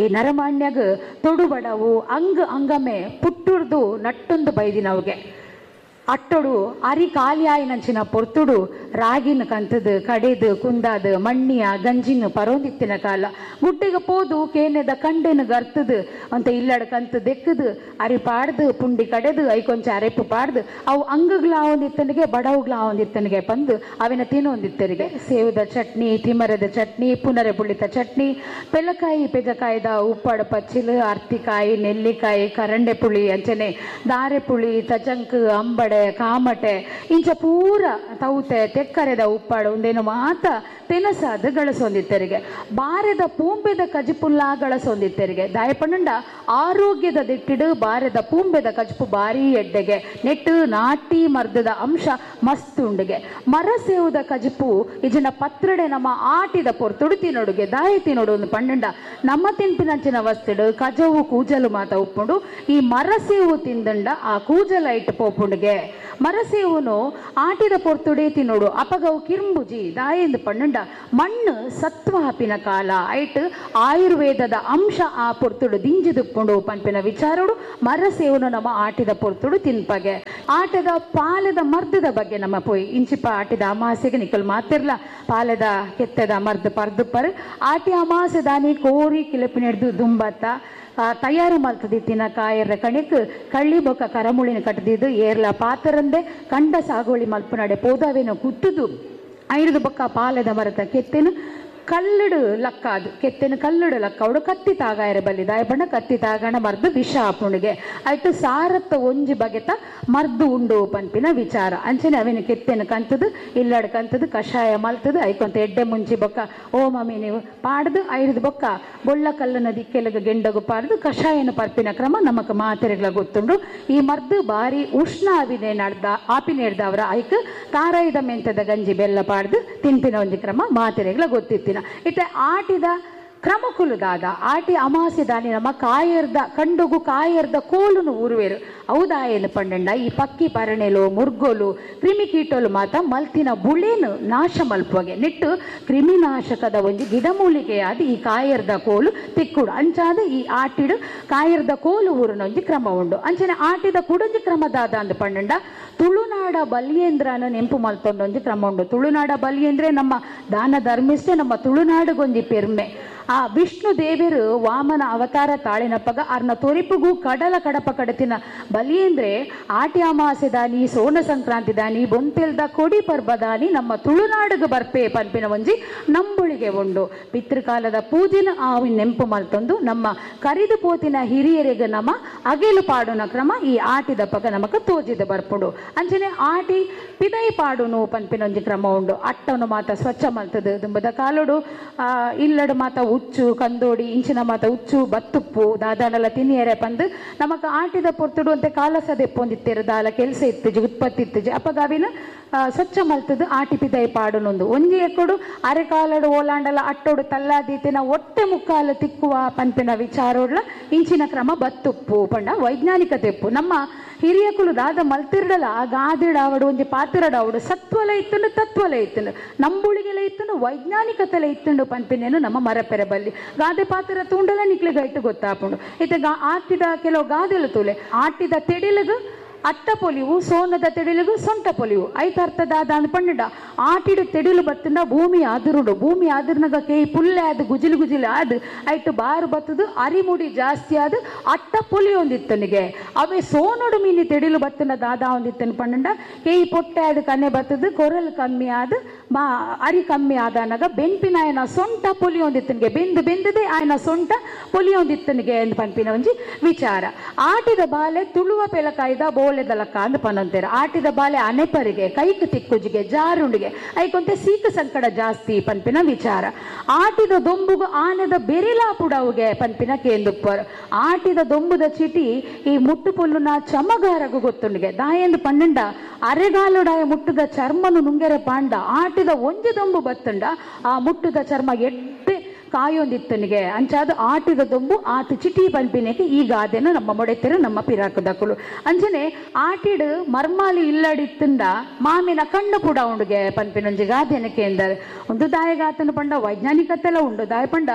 ಈ ನರಮಾನ್ಯಗ ತೊಡುಬಡವು ಅಂಗ ಅಂಗಮೆ ಪುಟ್ಟುರ್ದು ನಟ್ಟೊಂದು ಬೈದಿನವುಗೆ ಅಟ್ಟೊಡು ಅರಿ ಕಾಲಿಯಾಯಿನಂಚಿನ ಪೊರ್ತುಡು ರಾಗಿನ ಕಂತದು ಕಡೆದು ಕುಂದಾದು ಮಣ್ಣಿಯ ಗಂಜಿನ ಪರೋಂದಿತ್ತಿನ ಕಾಲ ಗುಡ್ಡೆಗೆ ಪೋದು ಕೇನೆದ ಕಂಡೆನು ಗರ್ತದು ಅಂತ ಇಲ್ಲಡ ಕಂತು ದೆಕ್ಕದು ಅರಿ ಪಾಡ್ದು ಪುಂಡಿ ಕಡೆದು I ಕೊಂಚ ಅರೆಪ್ಪು ಪಾಡ್ದು ಅವು ಅಂಗುಗಳಾವೊಂದಿತ್ತನಿಗೆ ಬಡವುಗಳಾವೊಂದಿತ್ತನಿಗೆ ಪಂದು ಅವಿನ ತಿನ್ನೊಂದಿತ್ತರಿಗೆ ಸೇವದ ಚಟ್ನಿ, ತಿಮರದ ಚಟ್ನಿ, ಪುನರೆ ಪುಳಿತ ಚಟ್ನಿ, ಪೆಲಕಾಯಿ ಪೆಜಕಾಯ್ದ ಉಪ್ಪಾಡು ಪಚ್ಚಿಲು, ಅರ್ತಿಕಾಯಿ, ನೆಲ್ಲಿಕಾಯಿ, ಕರಂಡೆ ಪುಳಿ ಅಂಚನೆ ದಾರೆ ಪುಳಿ, ತಜಂಕ್, ಅಂಬಡೆ, ಕಾಮಟೆ ಇಂಚ ಪೂರ ತೌತೆ ತೆಕ್ಕರೆದ ಉಪ್ಪಾಡು ಒಂದೇನು ಮಾತ ತೆನಸಾದ ಗಳಸೊಂದಿತ್ತರಿಗೆ ಬಾರೆದ ಪೂಂಬೆದ ಕಜಿಪುಲ್ಲ ಗಳಸೊಂದಿತ್ತರಿಗೆ ದಾಯಪಣ್ಣಂಡ ಆರೋಗ್ಯದ ದಿಟ್ಟಿಡು ಬಾರೆದ ಪೂಂಬೆದ ಕಜಿಪು ಬಾರಿ ಎಡ್ಡೆಗೆ ನೆಟ್ಟು ನಾಟಿ ಮರ್ದದ ಅಂಶ ಮಸ್ತ್ ಉಂಡುಗೆ ಮರ ಸೇವುದ ಕಜಿಪು ಇಜನ ಪತ್ರಡೆ ನಮ್ಮ ಆಟಿದ ಪೊರ್ತುಡು ತಿನ್ನೊಡುಗೆ ದಾಯ ತಿನ್ನೊಡು ಒಂದು ಪಣ್ಣಂಡ ನಮ್ಮ ತಿನ್ಪಿನಂಚಿನ ವಸ್ತುಡು ಕಜವು ಕೂಜಲು ಮಾತ ಉಪ್ಪುಂಡು ಈ ಮರ ಸೇವು ತಿಂದಂಡ ಆ ಕೂಜಲ ಇಟ್ಟು ಪೋಪುಂಡುಗೆ ಮರಸೇವುನು ಆಟಿದ ಪೊರ್ತುಡೆ ತಿನ್ನೋಡು ಅಪಗವು ಕಿರ್ಂಬುಜಿ ದಾಯೆಂದು ಪಣ್ಣಂಡ ಮಣ್ಣು ಸತ್ವ ಹಾಪಿನ ಕಾಲ ಐಟ್ ಆಯುರ್ವೇದದ ಅಂಶ ಆ ಪೊರ್ತುಡು ದಿಂಜಿದುಪ್ಪುಂಡು ಪನ್ಪಿನ ವಿಚಾರೋಡು ಮರಸೇವುನು ನಮ್ಮ ಆಟಿದ ಪೊರ್ತುಡು ತಿನ್ಪಗೆ. ಆಟದ ಪಾಲದ ಮರ್ದದ ಬಗ್ಗೆ ನಮ್ಮ ಪೋಯಿ ಇಂಚಿಪ ಆಟಿದ ಅಮಾಸೆಗೆ ನಿಕ್ಕಲ್ ಮಾತಿರ್ಲ ಪಾಲದ ಕೆತ್ತದ ಮರ್ದು ಪರ್ದು ಪರ್ ಆಟಿ ಅಮಾಸೆ ದಾನಿ ಕೋರಿ ಕಿಲಪಿನೆಡ್ದು ದುಂಬತ್ತ ತಯಾರು ಮಲ್ತದಿತ್ತಿನ ಕಾಯರ ಕಣಿಕ್ ಕಳ್ಳಿ ಬೊಕ್ಕ ಕರಮುಳಿನ ಕಟ್ಟದಿದ್ದು ಏರ್ಲ ಪಾತರಂದೆ ಕಂಡ ಸಾಗೋಳಿ ಮಲ್ಪುನಡೆ ಪೋದಾವೇನು ಕುತ್ತುದು ಐದು ಬೊಕ್ಕ ಪಾಲದ ಮರತ ಕೆತ್ತೆನು ಕಲ್ಲಡು ಲಕ್ಕಾದು ಕೆತ್ತೆನು ಕಲ್ಲಡು ಲಕ್ಕವಡು ಕತ್ತಿ ತಾಗಾಯರ ಬಲ್ಲಿ ದಾಯಬಣ್ಣ ಕತ್ತಿ ತಾಗಣ ಮರ್ದು ವಿಷ ಆಪುಣಿಗೆ ಆಯ್ತು ಸಾರತ್ತ ಒಂಜಿ ಬಗೆತ ಮರ್ದು ಉಂಡು ಪನ್ಪಿನ ವಿಚಾರ ಅಂಚನೆ ಅವಿನ ಕೆತ್ತೆನು ಕಂತದು ಇಲ್ಲಡು ಕಂತದು ಕಷಾಯ ಮಲ್ತದು ಐಕೊಂತ ಎಡ್ಡೆ ಮುಂಚಿ ಬೊಕ್ಕ ಓ ಮಮ್ಮಿ ನೀವು ಪಾಡ್ದು ಐದು ಬೊಕ್ಕ ಬೊಳ್ಳ ಕಲ್ಲನ ದಿಕ್ಕೆಲಗ ಗೆಂಡಗು ಪಾಡ್ದು ಕಷಾಯನ ಪರ್ಪಿನ ಕ್ರಮ ನಮಕ್ ಮಾತೆರೆಗಳ ಗೊತ್ತುಂಡು. ಈ ಮರ್ದು ಬಾರಿ ಉಷ್ಣ ಆವಿನೆ ನಡ್ದ ಆಪಿನೇಡ್ದ ಅವರ ಐಕ್ ತಾರಾಯಿದ ಮೆಂತದ ಗಂಜಿ ಬೆಲ್ಲ ಪಾಡ್ದು ತಿನ್ಪಿನ ಒಂಜಿ ಕ್ರಮ ಮಾತೆರೆಗಳ ಗೊತ್ತಿತ್ತಿನ. ಇತ್ತೆ ಆಟಿದ ಕ್ರಮಕುಲುದಾದ ಆಟಿ ಅಮಾಸೆ ದಾನಿ ನಮ್ಮ ಕಾಯರ್ದ ಕಂಡುಗು ಕಾಯರ್ದ ಕೋಲುನು ಊರುವೇರು ಹೌದಾಯನು ಪಂಡಂಡ ಈ ಪಕ್ಕಿ ಪರಣೆಲು ಮುರ್ಗೋಲು ಕ್ರಿಮಿಕೀಟೋಲು ಮಾತ ಮಲ್ತಿನ ಬುಳೇನು ನಾಶ ಮಲ್ಪುವಗೆ ನೆಟ್ಟು ಕ್ರಿಮಿನಾಶಕದ ಒಂಜಿ ಗಿಡಮೂಲಿಕೆಯಾದ ಈ ಕಾಯರ್ದ ಕೋಲು ತಿಕ್ಕುಡು ಅಂಚಾದ ಈ ಆಟಿಡು ಕಾಯರ್ದ ಕೋಲು ಊರಿನ ಒಂಜಿ ಕ್ರಮ ಉಂಡು. ಅಂಚನೆ ಆಟಿದ ಕುಡೊಂಜಿ ಕ್ರಮದಾದ ಅಂದ್ ಪಂಡಂಡ ತುಳುನಾಡ ಬಲಿಯೇಂದ್ರನ ನೆಂಪು ಮಲ್ತೊಂಡೊಂಜಿ ಕ್ರಮ ಉಂಡು. ತುಳುನಾಡ ಬಲಿಯೇಂದ್ರೆ ನಮ್ಮ ದಾನ ಧರ್ಮಿಷ್ಟೆ ನಮ್ಮ ತುಳುನಾಡುಗೊಂಜಿ ಪೆರ್ಮೆ. ಆ ವಿಷ್ಣು ದೇವರು ವಾಮನ ಅವತಾರ ತಾಳಿನಪ್ಪಗ ಅರ್ನ ತೊರಿಪುಗು ಕಡಲ ಕಡಪ ಕಡತಿನ ಬಲಿಯೇಂದ್ರೆ ಆಟಿ ಅಮಾಸೆ ದಾನಿ ಸೋನ ಸಂಕ್ರಾಂತಿ ದಾನಿ ಬೊಂತೆಲ್ದ ಕೊಡಿ ಪರ್ಬ ದಾನಿ ನಮ್ಮ ತುಳುನಾಡುಗು ಬರ್ಪೆ ಪನ್ಪಿನ ಒಂಜಿ ನಂಬುಳಿಗೆ ಉಂಡು. ಪಿತೃಕಾಲದ ಪೂಜಿನ ಆ ನೆಂಪು ಮಲ್ತೊಂದು ನಮ್ಮ ಕರಿದು ಪೋತಿನ ಹಿರಿಯರಿಗೆ ನಮ್ಮ ಅಗೆಲು ಪಾಡುನ ಕ್ರಮ ಈ ಆಟಿದಪ್ಪಗ ನಮಕ ತೋಜಿದ ಬರ್ಪುಂಡು. ಅಂಚನೆ ಆಟಿ ಪಿದೈ ಪಾಡುನು ಪನ್ಪಿನ ಒಂಜಿ ಕ್ರಮ ಉಂಡು. ಅಟ್ಟನು ಮಾತ ಸ್ವಚ್ಛ ಮಲ್ತದು ದುಂಬದ ಕಾಲುಡು ಇಲ್ಲಡು ಮಾತ ಉಚ್ಚು ಕಂದೋಡಿ ಇಂಚಿನ ಮಾತ ಉಚ್ಚು ಬತ್ತುಪ್ಪು ದಾದಾಡಲ ತಿನ್ನಿಯರೆ ಪಂದು ನಮಕ್ ಆಟಿದ ಪೊರ್ತುಡು ಅಂತೆ ಕಾಲಸ ದೆಪ್ಪೊಂದಿತ್ತೇರು ದಾಲ ಕೆಲಸ ಇತ್ತುಜಿ ಉತ್ಪತ್ತಿ ಇತ್ತುಜಿ ಅಪಗಾವಿನ ಸ್ವಚ್ಛ ಮಲ್ತದು ಆಟಿ ಪಿದೈ ಪಾಡುನೊಂದು ಒಂಜಿ ಎಕ್ಕಡು ಅರೆಕಾಲಡು ಓಲಾಂಡಲ ಅಟ್ಟೋಡು ತಲ್ಲಾದೀತಿನ ಒಟ್ಟೆ ಮುಕ್ಕಾಲು ತಿಕ್ಕುವ ಪನ್ಪಿನ ವಿಚಾರೋಡ್ಲ ಇಂಚಿನ ಕ್ರಮ ಬತ್ತುಪ್ಪು ಪಂಡ ವೈಜ್ಞಾನಿಕ ತೆಪ್ಪು. ನಮ್ಮ ಹಿರಿಯಕುಲು ದಾದ ಮಲ್ತಿರ್ಡಲ ಆ ಗಾದಿಡಾವಡು ಒಂಜಿ ಪಾತಿರಡಾವಡು ಸತ್ವಲ ಇತ್ತುಂಡು ತತ್ವಲ ಇತ್ತುಂಡು ನಂಬುಳಿಗೆಲ ಇತ್ತುಂಡು ವೈಜ್ಞಾನಿಕತೆಲ ಇತ್ತುಂಡು ಪನ್ಪಿನೇನು ನಮ್ಮ ಮರಪೆರೆ ಬಲ್ಲಿ ಗಾದೆ ಪಾತಿರ ತೂಂಡಲ ನಿಕ್ಲೆ ಗೈಟು ಗೊತ್ತಾಪುಂಡು. ಇತ್ತೆ ಆಟಿದ ಕೆಲವು ಗಾದೆಲು ತೂಲೆ ಆಟಿದ ತೆಡಿಲಗು ಅಟ್ಟ ಪೊಲಿವು ಸೋನದ ತೆಡಿಲುಗು ಸೊಂಟ ಪೊಲಿವು ಐತರ್ಥದಾದ ಅಂದ್ ಆಟಿಡು ತೆಡಿಲು ಬತ್ತಂಡ ಭೂಮಿ ಆದಿರುಡು ಭೂಮಿ ಆದಿರ್ನಗ ಕೇಯಿ ಪುಲ್ಲೆ ಆದ್ ಗುಜಿಲು ಗುಜಿಲು ಆದ್ ಐಟು ಬಾರು ಬತ್ತದು ಅರಿಮುಡಿ ಜಾಸ್ತಿ ಆದ್ ಅಟ್ಟ ಪೊಲಿ ಒಂದಿತ್ತನಿಗೆ ಅವೇ ಸೋನೋಡು ಮೀನಿ ತೆಡಿಲು ಬತ್ತಂಡ ದಾದಾ ಒಂದಿತ್ತನ ಪಂಡ ಕೇಯಿ ಪೊಟ್ಟೆ ಆದ್ ಕನ್ನೆ ಬತ್ತದು ಕೊರಲ್ ಕಮ್ಮಿ ಆದ್ ಬಾ ಅರಿ ಕಮ್ಮಿ ಆದನಗ ಬೆನ್ಪಿನ ಆಯನ ಸೊಂಟ ಪೊಲಿ ಒಂದಿತ್ತನಿಗೆ ಬೆಂದು ಬೆಂದದೆ ಆಯನ ಸೊಂಟ ಪೊಲಿ ಒಂದಿತ್ತನಿಗೆ ಎಂದು ಪನ್ಪಿನ ಒಂಜಿ ವಿಚಾರ. ಆಟಿದ ಬಾಲೆ ತುಳುವ ಪೆಲಕಾಯ್ದ ಬೋಲೆದಲಕ್ಕ ಅಂದ್ ಪನಂತೇರು. ಆಟಿದ ಬಾಲೆ ಅನೆಪರಿಗೆ ಕೈಕ್ ತಿಕ್ಕುಜಿಗೆ ಜಾರುಂಡಿಗೆ ಐಕೊಂತೆ ಸೀಕ ಸಂಕಟ ಜಾಸ್ತಿ ಪನ್ಪಿನ ವಿಚಾರ. ಆಟಿದ ದೊಂಬುಗು ಆನೆದ ಬೆರಿಲಾ ಪುಡವುಗೆ ಪನ್ಪಿನ ಕೇಂದುಪ್ಪರು. ಆಟಿದ ದೊಂಬುದ ಚೀಟಿ ಈ ಮುಟ್ಟು ಪುಲ್ಲುನ ಚಮಗಾರಗು ಗೊತ್ತುಂಡಿಗೆ ದಾಯೆಂದು ಪನ್ನಂಡ ಅರೆಗಾಲುಡಾಯ ಮುಟ್ಟುದ ಚರ್ಮನು ನುಂಗೆರೆ ಪಾಂಡ ಆಟಿದ ಒಂಜಿ ದೊಂಬು ಬತ್ತುಂಡ ಆ ಮುಟ್ಟುದ ಚರ್ಮ ಎಡ್ಡೆ ಕಾಯೊಂದಿತ್ತನಿಗೆ ಅಂಚಾದ ಆಟಿದ ದೊಂಬು ಆತು ಚಿಟಿ ಪನ್ಪಿನಕ್ಕೆ ಈ ಗಾದೆನ ನಮ್ಮ ಮೊಡೆತರು ನಮ್ಮ ಪಿರಾಕದಕುಲು. ಅಂಚನೆ ಆಟಿಡು ಮರ್ಮಾಲಿ ಇಲ್ಲಡಿತ್ತಂದ ಮಾಮಿನ ಕಣ್ಣು ಪುಡ ಉಂಡುಗೆ ಪನ್ಪಿನೊಂಜಿ ಗಾದೆನಕ್ಕೆ ಎಂದರೆ ಒಂದು ದಾಯಗಾತನ ಪಂಡ ವೈಜ್ಞಾನಿಕತೆಲ್ಲ ಉಂಡು. ದಾಯ ಪಂಡ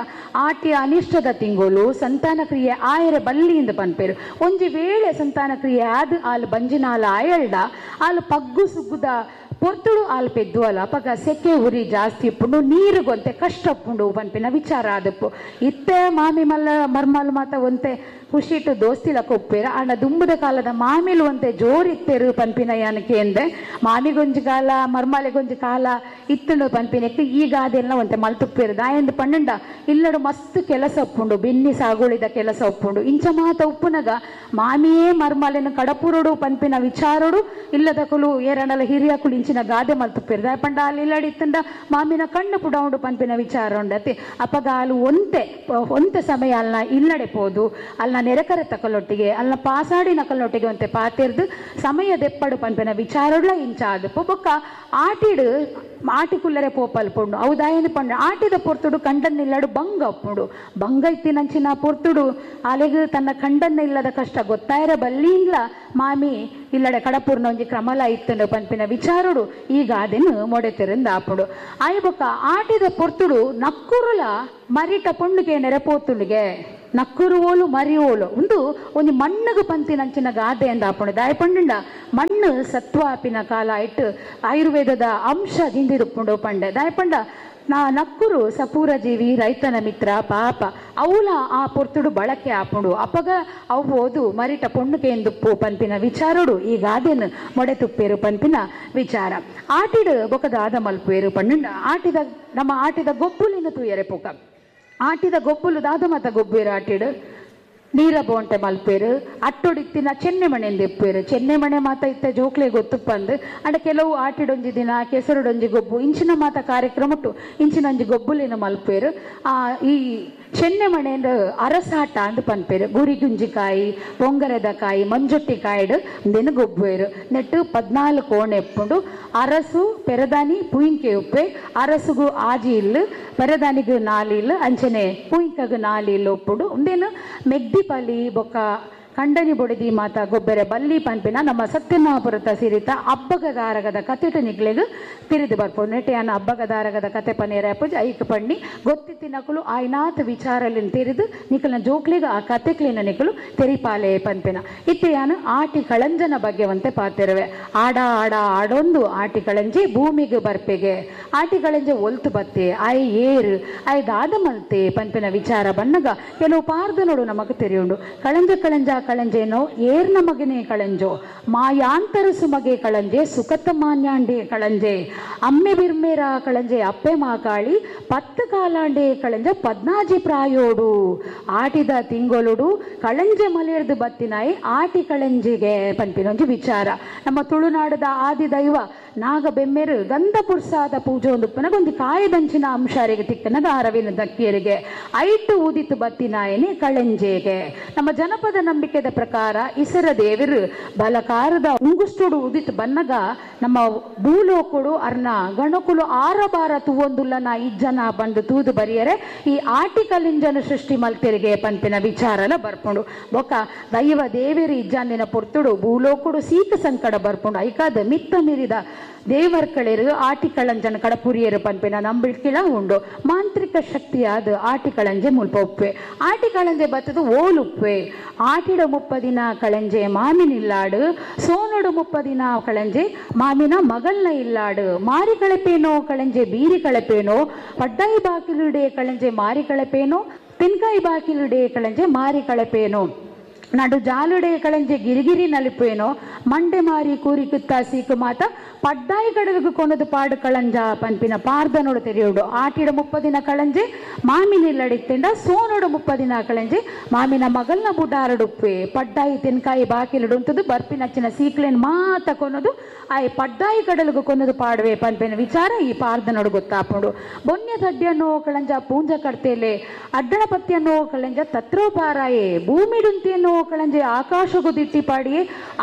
ಆಟಿ ಅನಿಷ್ಟದ ತಿಂಗೋಲು ಸಂತಾನ ಕ್ರಿಯೆ ಆಯರೆ ಬಲ್ಲಿಯಿಂದ ಪನ್ಪೇರು. ಒಂಜಿ ವೇಳೆ ಸಂತಾನ ಕ್ರಿಯೆ ಆದ್ ಆಲ್ ಬಂಜಿನಾಲ ಆಯಲ್ಡ ಆಲ್ ಪಗ್ಗು ಸುಗ್ಗುದ ಪೊರ್ತುಡು ಆಲ್ ಪೆದ್ದು ಅಲ್ಲ ಅಪಗ ಸೆಕೆ ಉರಿ ಜಾಸ್ತಿ ಇಪ್ಪುಂಡು ನೀರುಗೊಂತೆ ಕಷ್ಟ ಉಪ್ಪುಂಡು ಪನ್ಪಿನ ವಿಚಾರ ಆದಪ್ಪು. ಇತ್ತೆ ಮಾಮಿ ಮಲ್ಲ ಮರ್ಮಲ್ ಮಾತ ಒಂತೆ ಖುಷಿಟ್ಟು ದೋಸ್ತಿಲಕ್ಕ ಉಪ್ಪೇರ ಆಂಡ ದುಂಬುದ ಕಾಲದ ಮಾಮಿಲು ಒಂತೆ ಜೋರಿತ್ತೆರು ಪನ್ಪಿನ ಯಾನಕ್ಕೆ ಎಂದೆ ಮಾಮಿಗೊಂಜಿ ಕಾಲ ಮರ್ಮಾಲೆಗೊಂಜಿ ಕಾಲ ಇತ್ತುಂಡು ಪನ್ಪಿನಕ್ಕೆ ಈಗ ಅದೆಲ್ಲ ಒಂತೆ ಮಲ್ತುಪ್ಪೇರು. ದಾಯಂದು ಪನ್ನಂಡ ಇಲ್ಲಡು ಮಸ್ತ್ ಕೆಲಸ ಉಪ್ಪುಂಡು, ಬೆನ್ನಿ ಸಾಗುಳಿದ ಕೆಲಸ ಉಪ್ಪುಂಡು. ಇಂಚ ಮಾತ ಉಪ್ಪುನಗ ಮಾಮಿಯೇ ಮರ್ಮಾಲೆನ ಕಡಪುರುಡು ಪನ್ಪಿನ ವಿಚಾರೋಡು ಇಲ್ಲದಕುಲು ಏರನಲ ಹಿರಿಯಕುಲು ಇಂಚಿನ ಗಾದೆ ಮಲ್ತುಪ್ಪೇರು. ದಾಯ ಪಂಡ ಅಲ್ಲಿ ಇಲ್ಲಡಿ ಇತ್ತಂಡ ಮಾಮಿನ ಕಣ್ಣು ಪುಡ ಉಂಡು ಪನ್ಪಿನ ವಿಚಾರ ಉಂಡತಿ. ಅಪಗ ಅಲು ಒಂತೆ ಒಂತೆ ಸಮಯ ಅಲ್ನ ಇಲ್ಲಡೆ ಪೋದು ಅಲ್ನ ನೆರೆಕರೆ ತಕಲೊಟ್ಟಿಗೆ ಅಲ್ಲ ಪಾಸಾಡಿ ನಕಲೊಟ್ಟಿಗೆ ಒಂತೆ ಪಾತೆರ್ದು ಸಮಯ ದೆಪ್ಪಡು ಪನ್ಪಿನ ವಿಚಾರಡ್ಲ ಇಂಚ ಆದಪ್ಪು. ಬೊಕ್ಕ ಆಟಿಡು ಆಟಿ ಕುಲ್ಲರೆ ಪೋಪಲ್ ಪೊಂಡು ಅವು ದಾಯನ ಪಂಡು ಆಟಿದ ಪೊರ್ತುಡು ಕಂಡನ್ನಿಲ್ಲಡು ಬಂಗ ಅಪ್ಪುಂಡು. ಬಂಗ ಇತ್ತಿನಂಚಿನ ಪೊರ್ತುಡು ಅಲೆಗು ತನ್ನ ಕಂಡನ್ನ ಇಲ್ಲದ ಕಷ್ಟ ಗೊತ್ತಾಯರ ಬಲ್ಲಿಂಗ್ಲ ಮಾಮಿ ಇಲ್ಲಡೆ ಕಡಪೂರ್ನ ಒಂಜಿ ಕ್ರಮಲ ಇತ್ತಂಡು ಪನ್ಪಿನ ವಿಚಾರಡು ಈಗ ಅದೇನು ಮೊಡೆತೆರಿಂದ ಆಪುಂಡು. ಆಯ್ ಬೊಕ್ಕ ಆಟಿದ ಪೊರ್ತುಡು ನಕ್ಕುರುಲ ಮರಿಟ ಪೊಂಡುಗೆ ನೆರೆಪೋತುಂಡುಗೆ ನಕ್ಕುರು ಓಲು ಮರಿ ಓಲು ಒಂದು ಒಂಜಿ ಮಣ್ಣುಗು ಪಂತಿನಂಚಿನ ಗಾದೆ ಎಂದ ಆಪುಂಡು. ದಾಯ ಪಂಡುಂಡ ಮಣ್ಣು ಸತ್ವಾಪಿನ ಕಾಲ ಇಟ್ಟು ಆಯುರ್ವೇದದ ಅಂಶ ದಿಂದಿರುಪುಂಡು ಪಂಡೆ. ದಾಯ ಪಂಡ ನಾ ನಕ್ಕುರು ಸಪೂರ ಜೀವಿ ರೈತನ ಮಿತ್ರ ಪಾಪ ಅವಲ ಆ ಪೊರ್ತುಡು ಬಳಕೆ ಆಪುಂಡು. ಅಪಗ ಅವು ಓದು ಮರಿಟ ಪೊಣ್ಣುಗೆ ಎಂದುಪ್ಪು ಪನ್ಪಿನ ವಿಚಾರೋಡು ಈ ಗಾದೆನು ಮೊಡೆ ತುಪ್ಪೇರು ಪನ್ಪಿನ ವಿಚಾರ. ಆಟಿಡು ಬೊಕದ ಆದ ಮಲ್ಪೇರು ಪಣ್ಣುಂಡ ಆಟಿದ ನಮ್ಮ ಆಟಿದ ಗೊಬ್ಬುಲಿನ ತೂಯರೆ ಪೋಕ ಆಟಿದ ಗೊಬ್ಬುಲು ದಾದ ಮತ ಗೊಬ್ಬೇರು ಆಟಿಡು ನೀರ ಬೋಂಟೆ ಮಲ್ಪೇರು ಅಟ್ಟೊಡಿತ್ತಿನ ಚೆನ್ನೆ ಮಣೆಂದು ಎಪ್ಪೇರು. ಚೆನ್ನೆ ಮಣೆ ಮಾತ ಇತ್ತ ಜೋಕ್ಲೆ ಗೊತ್ತುಪ್ಪಂದು ಅಂಡ ಕೆಲವು ಆಟಿಡೊಂಜಿ ದಿನ ಕೆಸರುಡೊಂಜಿ ಗೊಬ್ಬು ಇಂಚಿನ ಮಾತ ಕಾರ್ಯಕ್ರಮಟ್ಟು ಇಂಚಿನ ಒಂಜಿ ಗೊಬ್ಬುಲೇನು ಮಲ್ಪೇರು. ಈ ಚೆನ್ನೆ ಮಣೆಂದು ಅರಸಾಟ ಅಂದ್ ಪನ್ಪೇರು. ಗುರಿ ಗುಂಜಿಕಾಯಿ ಪೊಂಗರೆದ ಕಾಯಿ ಮಂಜೊಟ್ಟಿ ಕಾಯಿಡು ಇಂದೇನು ಗೊಬ್ಬೇರು. ನೆಟ್ಟು 14 ಕೋಣೆ ಎಪ್ಪುಂಡು. ಅರಸು ಪೆರದಾನಿ ಪುಯಿಂಕೆ ಉಪ್ಪೆ ಅರಸುಗು ಆಜಿ ಇಲ್ಲು ಪೆರದಾನಿಗು ನಾಲಿ ಇಲ್ಲು ಅಂಚನೆ ಪುಯಿಂಕಗು ನಾಲಿ ಇಲ್ಲು ಉಪ್ಪುಂಡು. ಉಂದೇನು ಮೆಗ್ದಿ ಪಲಿ ಬೊಕ್ಕ ಕಂಡನಿ ಬೊಡಿದಿ ಮಾತ ಗೊಬ್ಬೆರೆ ಬಲ್ಲಿ ಪನ್ಪಿನ ನಮ್ಮ ಸತ್ಯನಾಪುರತ ಸಿರಿತ ಅಬ್ಬಗದಾರಗದ ಕತೆಟ ನಿಗ್ಲೆಗ್ ತಿರಿದು ಬರ್ಪು. ನೆಟೆಯನ್ನ ಅಬ್ಬಗದಾರಗದ ಕತೆ ಪನೇರ ಪೂಜೆ ಐಕ್ ಪಣ್ಣಿ ಗೊತ್ತಿತ್ತಿನಕುಲು ಆಯ್ನಾಥ ವಿಚಾರಲಿನ ತೆರೆದು ನಿಕಲ್ನ ಜೋಕ್ಲಿಗ ಆ ಕತೆಕ್ಲಿನ ನಿಕಲು ತೆರಿಪಾಲೆ ಪನ್ಪಿನ. ಇತ್ತೆಯಾನು ಆಟಿ ಕಳಂಜನ ಬಗ್ಗೆ ಒಂತೆ ಪಾತಿರುವೆ. ಆಡ ಆಡ ಆಡೊಂದು ಆಟಿ ಕಳಂಜಿ ಭೂಮಿಗೆ ಬರ್ಪೆಗೆ ಆಟಿ ಕಳಂಜೆ ಒಲ್ತು ಬತ್ತೆ ಆಯ್ ಏರು ಆಯ್ ದಾದ ಮಲ್ತೆ ಪನ್ಪಿನ ವಿಚಾರ ಬಣ್ಣಗ ಕೆಲವು ಪಾರ್ದ ನೋಡು ನಮಗ್ ತೆರೆಯುಂಡು. ಕಳಂಜ ಕಳಂಜ ಕಳಂಜೇನೋ ಏರ್ನ ಮಗನೇ ಕಳಂಜೋ ಮಾಯಾಂತರ ಸುಮಗೆ ಕಳಂಜೆ ಸುಖತ ಮಾನ್ಯಾಂಡೆ ಕಳಂಜೆ ಅಮ್ಮೆ ಬಿರ್ಮೇರ ಕಳಂಜೆ ಅಪ್ಪೆ ಮಾಕಾಳಿ ಪತ್ತು ಕಾಲಾಂಡೆ ಕಳಂಜೆ ಪದ್ನಾಜಿ ಪ್ರಾಯೋಡು ಆಟಿದ ತಿಂಗೊಲುಡು ಕಳಂಜೆ ಮಲೇರ್ದು ಬತ್ತಿನಾಯಿ ಆಟಿ ಕಳಂಜಿಗೆ ಪನ್ಪಿನೊಂಜಿ ವಿಚಾರ. ನಮ್ಮ ತುಳುನಾಡದ ಆದಿ ದೈವ ನಾಗ ಬೆಮ್ಮೆರು ಗಂಧ ಪುರ್ಸಾದ ಪೂಜೆ ಒಂದು ಪನಗೊಂದು ಕಾಯದಂಚಿನ ಅಂಶಾರಿಗೆ ತಿಕ್ಕನದ ಅರವಿನ ದಕ್ಕಿಯರಿಗೆ ಐಟು ಊದಿತು ಬತ್ತಿನಾಯನೆ ಕಳಂಜೆಗೆ. ನಮ್ಮ ಜನಪದ ನಂಬಿಕೆದ ಪ್ರಕಾರ ಇಸರ ದೇವರು ಬಲಕಾರದ ಉಂಗುಷ್ಟೋಡು ಉದಿತು ಬನ್ನಗ ನಮ್ಮ ಭೂಲೋಕಡು ಅರ್ನ ಗಣಕುಲು ಆರಬಾರ ತೂವೊಂದುಲ್ಲನ ಇಜ್ಜನ ಬಂದು ತೂದು ಬರಿಯರೆ ಈ ಆಟಿ ಕಲಿಂಜನ ಸೃಷ್ಟಿ ಮಲ್ತೆರಿಗೆ ಪನ್ಪಿನ ವಿಚಾರಲ ಬರ್ಪುಂಡು. ಬೊಕ್ಕ ದೈವ ದೇವರು ಇಜ್ಜಂದಿನ ಪೊರ್ತುಡು ಭೂಲೋಕುಡು ಸೀಕ ಸಂಕಟ ಬರ್ಪುಂಡು. ಐಕಾದ ಮಿತ್ತ ಮೀರಿದ ದೇವರ್ಕಳಿರು ಆಟಿ ಕಳಂಜನ ಕಡಪುರಿಯರು ಪನ್ಪಿನ ನಂಬಿಕೆಲ ಉಂಡು. ಮಾಂತ್ರಿಕ ಶಕ್ತಿಯಾದ ಆಟಿ ಕಳಂಜೆ ಮುಲ್ಪ ಉಪ್ಪೆ ಆಟಿ ಕಳಂಜೆ ಬತ್ತದು ಓಲುಪ್ಪೆ. ಆಟಿಡ ಮುಪ್ಪದಿನ ಕಳಂಜೆ ಮಾಮಿನಿಲ್ಲಾಡು ಸೋನಡು ಮುಪ್ಪದಿನ ಕಳಂಜೆ ಮಾಮಿನ ಮಗಲ್ನ ಇಲ್ಲಾಡು ಮಾರಿ ಕಳಪೇನೋ ಕಳಂಜೆ ಬೀರಿ ಕಳಪೇನೋ ಪಡ್ಡಾಯಿ ಬಾಕಿಲುಡೆ ಕಳಂಜೆ ಮಾರಿ ಕಳಪೇನೋ ತೆನ್ಕಾಯಿ ಬಾಕಿಲುಡೆ ಕಳಂಜೆ ಮಾರಿ ಕಳಪೇನೋ ನಡು ಜಾಲುಡೆ ಕಳಂಜೆ ಗಿರಿಗಿರಿ ನಲಿಪೇನೋ ಮಂಡೆ ಮಾರಿ ಕೂರಿ ಕುತ್ತ ಸೀಕು ಮಾತ ಪಡ್ಡಾಯಿ ಕಡವಿಗೆ ಕೊನದು ಪಾಡು ಕಳಂಜ ಪನ್ಪಿನ ಪಾರ್ದನೋಡು ತೆರೆಯೋಡು. ಆಟಿಡ ಮುಪ್ಪದಿನ ಕಳಂಜೆ ಮಾಮಿನಿಲ್ಲಡಿತ್ತೆಂಡ ಸೋನೋಡು ಮುಪ್ಪದಿನ ಕಳಂಜೆ ಮಾಮಿನ ಮಗಲ್ನ ಬುಡಾರಡುಪ್ಪೆ ಪಡ್ಡಾಯಿ ತೆನ್ಕಾಯಿ ಬಾಕಿಲುಡುಂತದು ಬರ್ಪಿನಚ್ಚಿನ ಸೀಕ್ಲೇನ್ ಮಾತ ಕೊನದು ಆಯ್ ಪಡ್ಡಾಯಿ ಕಡಲಿಗೆ ಕೊನದು ಪಾಡುವೆ ಪನ್ಪಿನ ವಿಚಾರ ಈ ಪಾರ್ದನೋಡು ಗೊತ್ತಾಪುಂಡು. ಬೊನ್ಯ ತಡ್ಡಿಯನ್ನು ಕಳಂಜ ಪೂಂಜ ಕಡ್ತೇಲೆ ಅಡ್ಡಣ ಪತ್ತಿಯನ್ನು ಕಳಂಜ ತತ್ರೋಪಾರಾಯೆ ಭೂಮಿಡುಂತಿಯನ್ನು ಕಳಂಜೆ ಆಕಾಶಗು ದಿಟ್ಟಿ ಪಾಡಿಯೇ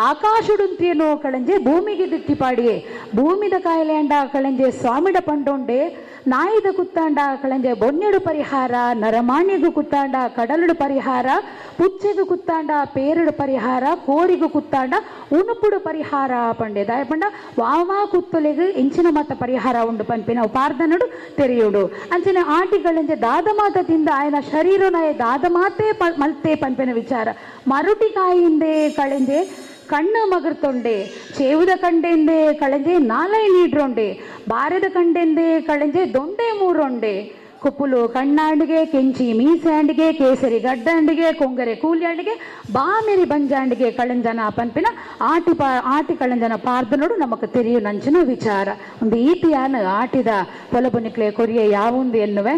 ಆಕಾಶ ಆಕಾಶಡುಂತಿಯನೋ ಕಳಂಜೆ ಭೂಮಿಗೆ ದಿಟ್ಟಿಪಾಡಿಯೇ ಭೂಮಿದ ಕಾಯಿಲೆ ಅಂಡ ಕಳಂಜೆ ಸ್ವಾಮಿಡ ಪಂಡೊಂಡೆ ನಾಯಿದ ಕುತ್ತಾಂಡ ಕಳಂಜೆ ಬೊನ್ನೆಡು ಪರಿಹಾರ ನರಮಾಣಿಗೂ ಕುತ್ತಾಂಡ ಕಡಲುಡು ಪರಿಹಾರ ಪುಚ್ಚೆಗು ಕುತ್ತಾಂಡ ಪೇರುಡು ಪರಿಹಾರ ಕೋರಿಗೂ ಕುತ್ತಾಂಡ ಉಣುಪುಡು ಪರಿಹಾರ ಪಂಡೆ ದಾಯ ಪಂಡ ವಾವಾ ಕುತ್ತೊಲೆಗು ಇಂಚಿನ ಮಾತ ಪರಿಹಾರ ಉಂಡು ಪನ್ಪಿನ ಪಾರ್ದನಡು ತೆರೆಯುಡು ಅಂಚಿನ ಆಟಿಗಳಂಜೆ ದಾದ ಮಾತದಿಂದ ಆಯನ ಶರೀರನಾಯ ದಾದ ಮಾತೇ ಮಲ್ತೆ ಪನ್ಪಿನ ವಿಚಾರ ಮರುಟಿಕಾಯಿಂದೆ ಕಳೆಂಜೆ ಕಣ್ಣು ಮಗರ್ತೊಂಡೆ ಚೇವುದ ಕಂಡೆಂದೆ ಕಳೆಂಜೆ ನಾಲೈ ನೀಡ್ರೊಂಡೆ ಬಾರದ ಕಂಡೆಂದೆ ಕಳೆಂಜೆ ದೊಂಡೆ ಮೂರೊಂಡೆ ಕುಪ್ಪುಲು ಕಣ್ಣಾಂಡಿಗೆ ಕೆಂಚಿ ಮೀಸಾಂಡಿಗೆ ಕೇಸರಿ ಗಡ್ಡಾಂಡಿಗೆ ಕೊಂಗರೆ ಕೂಲಿಯಾಂಡಿಗೆ ಬಾಮೆರಿ ಬಂಜಾಂಡಿಗೆ ಕಳಂಜನ ಪನ್ಪಿನ ಆಟಿ ಆಟಿ ಕಳಂಜನ ಪಾರ್ದನೋಡು ನಮಕ್ ತೆರಿಯು ನಂಚಿನ ವಿಚಾರ ಒಂದು ಈತಿಯಾನ ಆಟಿದ ಪೊಲಬುನಿಕ್ಲೆ ಕೊರಿಯ ಯಾವೊಂದು ಎನ್ನುವೆ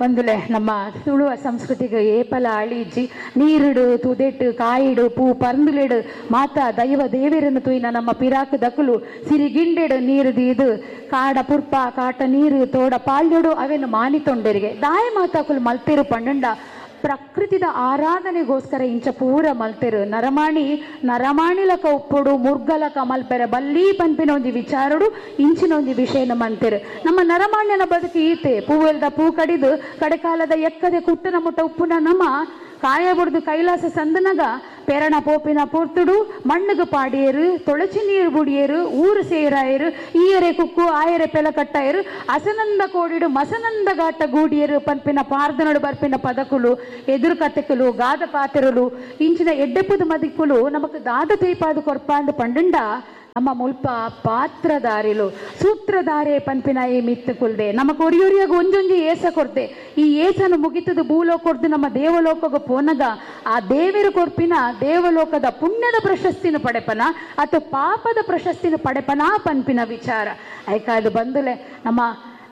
ಒಂದುಲೆ ನಮ್ಮ ತುಳುವ ಸಂಸ್ಕೃತಿಗೆ ಏಪಲ ಅಳಿಜಿ ನೀರಿಡು ತುದೆಟ್ಟು ಕಾಯಿಡು ಪೂ ಪರಂದುಲೆಡು ಮಾತಾ ದೈವ ದೇವಿರನ್ನು ತುಯ್ನ ನಮ್ಮ ಪಿರಾಕು ದಕುಲು ಸಿರಿಗಿಂಡೆಡು ನೀರು ದೀದು ಕಾಡ ಪುರ್ಪ ಕಾಟ ನೀರು ತೋಡ ಪಾಲ್ಯಡು ಅವೆನ್ನು ಮಾನಿತೊಂಡರಿಗೆ ದಾಯ ಮಾತಾಕುಲು ಮಲ್ತೆರು ಪಂಡಂಡ ಪ್ರಕೃತಿದ ಆರಾಧನೆಗೋಸ್ಕರ ಇಂಚ ಪೂರ ಮಲ್ತೆರು ನರಮಾಣಿ ನರಮಾಣಿಲಕ ಉಪ್ಪುಡು ಮುರ್ಗಲಕ ಮಲ್ಪೆರೆ ಬಲ್ಲಿ ಪನ್ಪಿನ ಒಂಜಿ ವಿಚಾರಡು ಇಂಚಿನ ಒಂಜಿ ವಿಷಯನ ಮಂತೆರು ನಮ್ಮ ನರಮಾಣ್ಯನ ಬದುಕು ಈತೆ ಪೂವೆಲ್ದ ಪೂ ಕಡಿದು ಕಡೆಕಾಲದ ಎಕ್ಕದೆ ಕುಟ್ಟನ ಮುಟ್ಟ ಉಪ್ಪುನ ನಮ್ಮ ಕಾಯ ಬುಡ್ದು ಕೈಲಾಸ ಸಂದನಗ ಪೆರಣ ಪೋಪಿನ ಪೊರ್ತುಡು ಮಣ್ಣುಗು ಪಾಡಿಯರು ತೊಳಚಿ ನೀರು ಬುಡಿಯರು ಊರು ಸೇರಾಯರು ಈಯರೆ ಕುಕ್ಕು ಆಯರೆ ಪೆಲ ಕಟ್ಟಾಯರು ಅಸನಂದ ಕೋಡಿಡು ಮಸನಂದ ಘಾಟ ಗೂಡಿಯರು ಪನ್ಪಿನ ಪಾರ್ದನಡು ಬರ್ಪಿನ ಪದಕುಲು ಎದುರು ಕತೆಕುಲು ಗಾದ ಪಾತೆರಲು ಇಂಚಿನ ಎಡ್ಡೆಪುದು ಮದಿಕ್ಕುಲು ನಮಕ್ ದಾದ ತೇಪಾದು ಕೊರ್ಪಾಂದು ಪಂಡಂಡ ನಮ್ಮ ಮುಲ್ಪ ಪಾತ್ರಧಾರಿಲು ಸೂತ್ರಧಾರೆ ಪನ್ಪಿನ ಈ ಮಿತ್ತು ಕುಲ್ದೆ ನಮ್ಮ ಕೊರಿಯೊರಿಯಾಗ ಒಂಜೊಂಜಿ ಏಸ ಕೊರ್ದೆ ಈ ಏಸನು ಮುಗಿತದು ಭೂಲೋಕೊರ್ದು ನಮ್ಮ ದೇವಲೋಕಗ ಪೋನಗ ಆ ದೇವರು ಕೊರ್ಪಿನ ದೇವಲೋಕದ ಪುಣ್ಯದ ಪ್ರಶಸ್ತಿನ ಪಡೆಪನ ಅಥವಾ ಪಾಪದ ಪ್ರಶಸ್ತಿನ ಪಡೆಪನ ಪನ್ಪಿನ ವಿಚಾರ ಐಕಾದು ಬಂದುಲೆ ನಮ್ಮ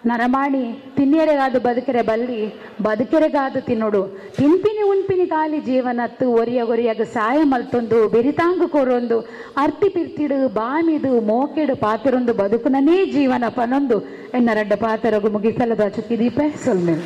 ನರಮಾಣಿ ತಿನ್ನಿಯರೆಗಾದು ಬದುಕೆರೆ ಬಲ್ಲಿ ಬದುಕೆರೆಗಾದು ತಿನ್ನೋಡು ತಿನ್ಪಿನಿ ಉನ್ಪಿನಿ ಕಾಲಿ ಜೀವನತ್ತು ಒರಿಯ ಒರಿಯಾಗ ಸಾಯ ಮಲ್ತೊಂದು ಬೆರಿತಾಂಗು ಕೊರೊಂದು ಅರ್ತಿ ಪಿರ್ತಿಡು ಬಾಮಿದು ಮೋಕೆಡು ಪಾತಿರೊಂದು ಬದುಕುನನೇ ಜೀವನ ಪನೊಂದು ಎನ್ನ ರಡ್ಡ ಪಾತರಗು ಮುಗಿಸಲದ ಚುಕ್ಕಿ ದೀಪೆ ಸೊಲ್ಮೆಲ್.